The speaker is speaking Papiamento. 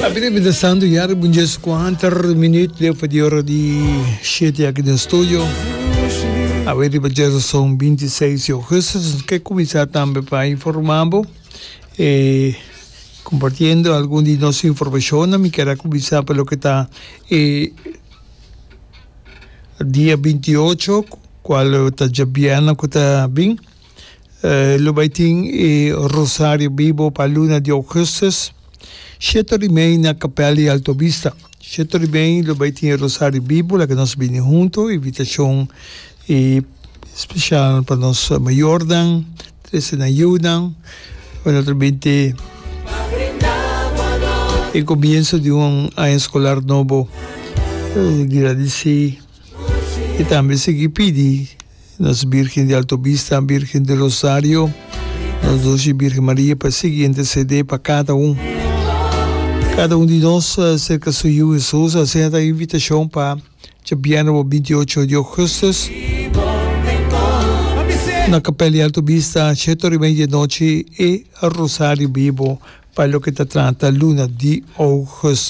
Papia ta bida santu ya riba un djes kuater minuut leu pa di ora di shete aki den studio. Awe riba djerason 26 di augustus nos ke kuminsá tambe pa informá bo e kompartiendo algun di nos informashonnan. Mi kier a kuminsá pa loke ta e dia 28 kual ta djabièrnè ku ta bin. Lo bai tin e Rosario Bibo pa luna di augustus, shete ora y mei na Kapel di Alto Vista. Shete ora y mei lo bai tin e Rosario Bibo, laga nos bini hunto, invitacion y special pa nos mayornan, trece nan yiunan, naturalmente e comienzo di un aña escolar nobo, gradici y tambe sigui pidi. Nos Birgen di Alto Bista, Birgen di Rosario, nos Dushi Birgen Maria pa sigui intercede pa cada un. Cada un di nos cerca su Yiu Jesus. Asina ta invitacion pa djabièrnè bo 28 di augustus na Kapel di Alto Bista, shete ora y media di nochi e Rosario Bibo pa loke ta trata luna di augustus.